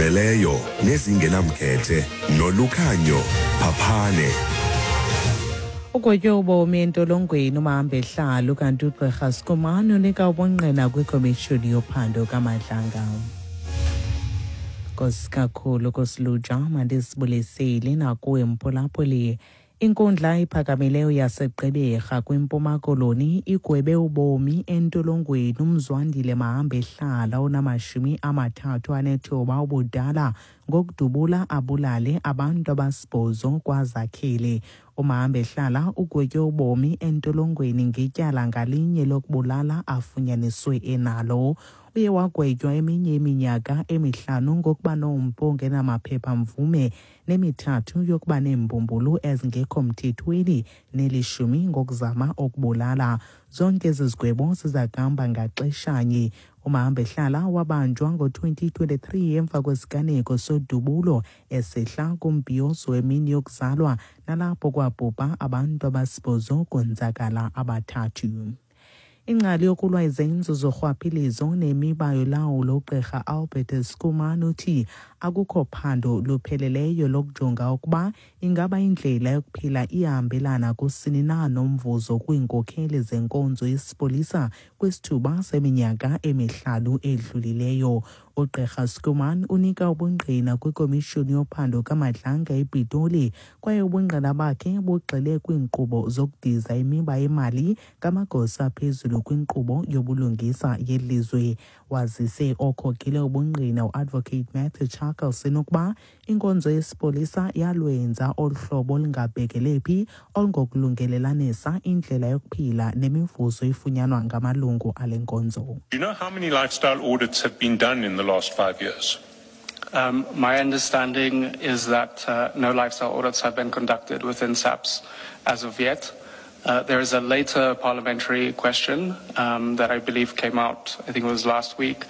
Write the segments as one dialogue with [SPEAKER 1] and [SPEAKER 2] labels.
[SPEAKER 1] Ezizimeleyo nezingenamkhethe nolukhanyo phaphane.
[SPEAKER 2] Ugwetywe ubomi entolongweni umahambehlalo kanti ugqirha Skumani unika ubungqina kwikomishoni yophando kaMadlanga. Nkosi kakhulu kosiluja mandisibulisile nakuwe mphulaphuli. Inkundla ephakamileyo yaseGqeberha kwiMpuma Koloni igwebe ubomi entolongweni uMzwandile Mahambehlala onamashumi amathathu anethoba ubudala ngokudubula abulale abantu abasibhozo kwaZakhele. UMahambehlala ugwetywe ubomi entolongweni ngetyala ngalinye lokubulala afunyaniswe enalo. Uye wagwetywa eminye iminyaka emihlanu ngokuba nompu ongenamaphepha-mvume nemithathu yokuba neembumbulu ezingekho mthethweni nelishumi ngokuzama ukubulala. Zonke ezi zigwebo ziza kuhamba ngaxeshanye. UMahambehlala wabanjwa ngo-2023 emva kwesiganeko sodubulo esehla kumbhiyozo wemini yokuzalwa nalapho kwabhubha abantu abasibhozo konzakala abathathu. Ingcali yokulwa izenzo zorhwaphilizo nemiba yolawulo ugqirha Albert Schoeman uthi akukho phando lupheleleyo lokujonga ukuba ingaba indlela yokuphila iyahambelana kusini na nomvuzo kwiinkokheli zenkonzo yesipolisa kwisithuba seminyaka emihlanu edlulileyo. Ugqirha Schoeman unika ubungqina kwikomishoni yophando kaMadlanga ePitoli kwaye ubungqina bakhe bugxile kwiinkqubo zokudiza imiba yemali ngamagosa aphezulu kwinkqubo yobulungisa yelizwe. Wazise okhokele ubungqina uAdvocate Matthew Chaskalson ukuba inkonzo yesipolisa yalwenza olu hlobo olungabhekele phi olungokulungelelanisa indlela yokuphila nemivuzo efunyanwa ngamalungu ale nkonzo.
[SPEAKER 3] Do you know how many lifestyle audits have been done in the last 5 years?
[SPEAKER 4] My understanding is that no lifestyle audits have been conducted within SAPS as of yet. There is a later parliamentary question that I believe came out, I think it was last week,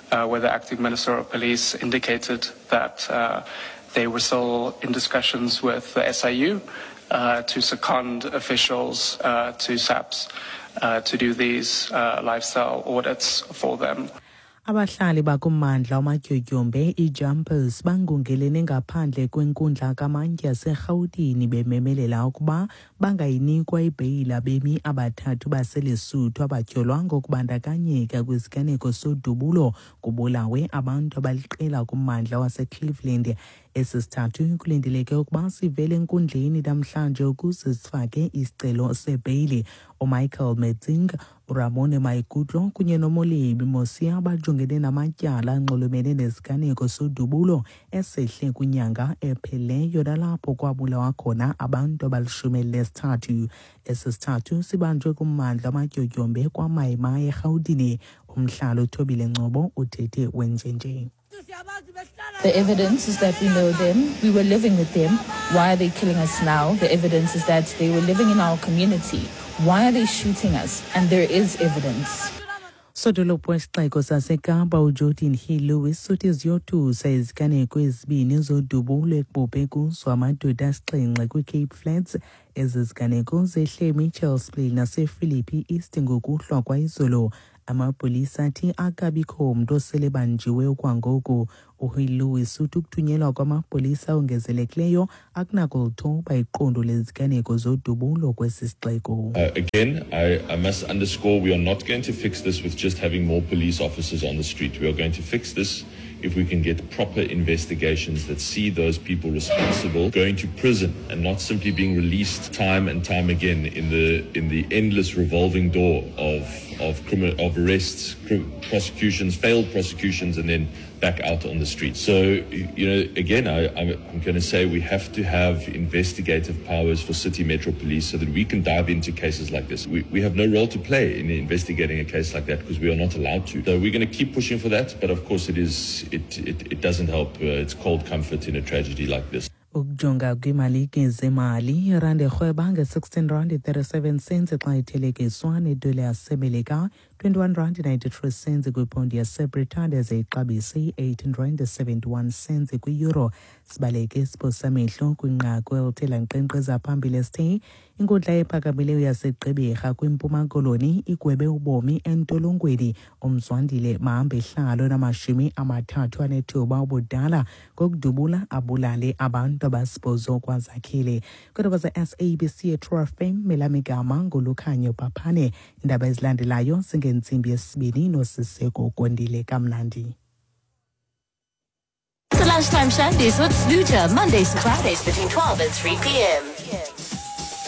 [SPEAKER 4] where the acting minister of police indicated that they were still in discussions with the SIU to second officials to SAPS to do these lifestyle audits for them.
[SPEAKER 2] Abahlali bakummandla wamatyotyombe iJumpers bangungelene ngaphandle kwenkundla kamantyi yaseRhawutini bememelela ukuba bangayinikwa ibheyile abemi abathathu baseLesotho abatyholwa ngokubandakanyeka kwisiganeko sodubulo kubulawe abantu abaliqela kummandla waseCleveland. Esi sithathu kulindeleke ukuba sivele enkundleni namhlanje ukuze sifake isicelo sebheyili. UMichael Metsing, uRamone Maikutlo kunye noMolebi Mosia bajongene namatyala anxulumene nesiganeko sodubulo esehle kwinyanga epheleyo nalapho kwabulawa khona abantu abalishumi elinesithathu. Esi sithathu sibanjwe kummandla amatyotyombe kwaMayimayi eRhawutini. Umhlali uThobile Ngcobo uthethe wenjenje.
[SPEAKER 5] The evidence is that we know them, we were living with them. Why are they killing us now? The evidence is that they were living in our community. Why are they shooting us? And there is evidence.
[SPEAKER 2] Sodolophu wesixeko saseKapa uGeordin Hill-Lewis uthi ziyothusa iziganeko ezibini zodubulo ekubhubhe kuzo amadoda asixhenxe kwiCape Flats. Ezi ziganeko zehle eMitchells Plain nasePhilippi East ngokuhlwa kwayizolo. Amapolisa athi akabikho mntu osele banjiwe okwangoku. UHill-Lewis uthi ukuthunyelwa kwamapolisa ongezelekileyo akunakulithoba iqondo leziganeko zodubulo kwesi sixeko.
[SPEAKER 6] Again, I must underscore we are not going to fix this with just having more police officers on the street. We are going to fix this if we can get proper investigations that see those people responsible going to prison and not simply being released time and time again in the endless revolving door of arrests, prosecutions, failed prosecutions, and then back out on the street. So, again, I'm going to say we have to have investigative powers for City Metro Police so that we can dive into cases like this. We have no role to play in investigating a case like that because we are not allowed to. So we're going to keep pushing for that, but of course it doesn't help. It's cold comfort in a tragedy like this.
[SPEAKER 2] Ukujonga kwiimalike zemali, irandi erhweba nge-16 rand 37 cents xa ithelekiswa nedola yaseMelika. 21 rand 93 cents kwipondi yaseBritane, ze ixabise i-18 rand 71 cents kwi-euro. Sibaleke isiphosamehlo kwinqaku elithe lankqenkqeza phambili esithe inkundla ephakamileyo yaseGqeberha kwiMpuma Koloni igwebe ubomi entolongweni uMzwandile Mahambehlalo 39 ubudala ngokudubula abulale abantu abasibhozo kwaZakhele. Kwiindaba ze-SABC eTrue FM, melamigama nguLukhanyo Paphane. Iindaba ezilandelayo zingentsimbi yesibini noSiseko Kondile. Kamnandi.
[SPEAKER 7] The Lunchtime Shandies with Snooja, Mondays to Fridays between 12 and 3 p.m.